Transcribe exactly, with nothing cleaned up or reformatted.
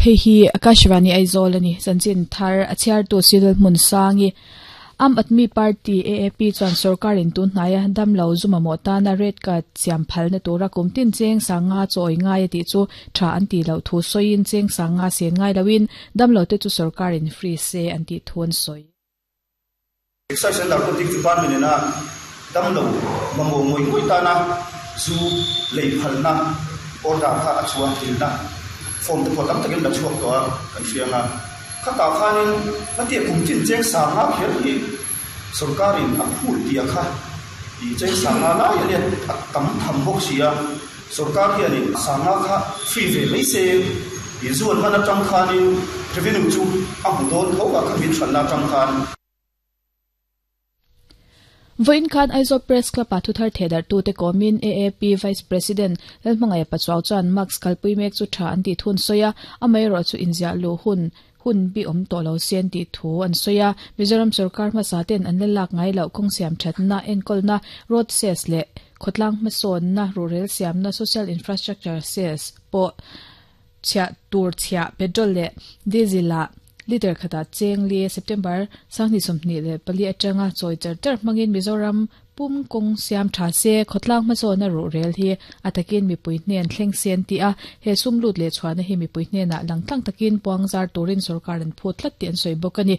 Hei hi Akashvani Aizawl ani chanchin thar a chhiartu Civil hmun sangi Aam Aadmi Party A A P chuan sarkarin tun hnaia damlo zuma maw tana red card siam phalna tura kumtin cheng sanga chawi ngai ti chu tha an ti lo thu soin cheng sanga sen ngai lawin damlo te chu sarkarin free se an ti thun soi. Excise and Narcotic Department na damlo mamo ngoi ngoi tana zu lei phalna order kha achua tilna form te photam takin la chuak to kan hrianga khata khanin atia kumtin cheng sanga kher hi sarkarin a phul tia kha i cheng sanga la ya le tam tham bok sia sarkar hian sanga kha free ve mai se i zuan mana tang khanin revenue chu a bu don tho ka khamin thanna tang khan. Voin khan Aizawl Press Club a thuthar thedar tu te komin A A P Vice President Lalhmangaiha Pachuau chuan Mask kalpui mek chu tha an ti thun soya amai ro chu inzia lu hun hun bi om to lo sian ti thu an soya. Mizoram sarkar ma sa ten an lak ngai lo kong siam thatna enkolna road cess le khotlang ma son na rural siam na social infrastructure cess po chya tur chya petrol le diesel la liter khata cheng li September sangni somni le pali atanga choi char char mangin Mizoram pum kong siam tha se khotlang ma zo na ru rel hi atakin mi pui hnen thleng sen ti a he sum lut le chhuana hi mi pui hnen a langtlang takin puangzar turin sarkar an phut tlat ti an soi bokani.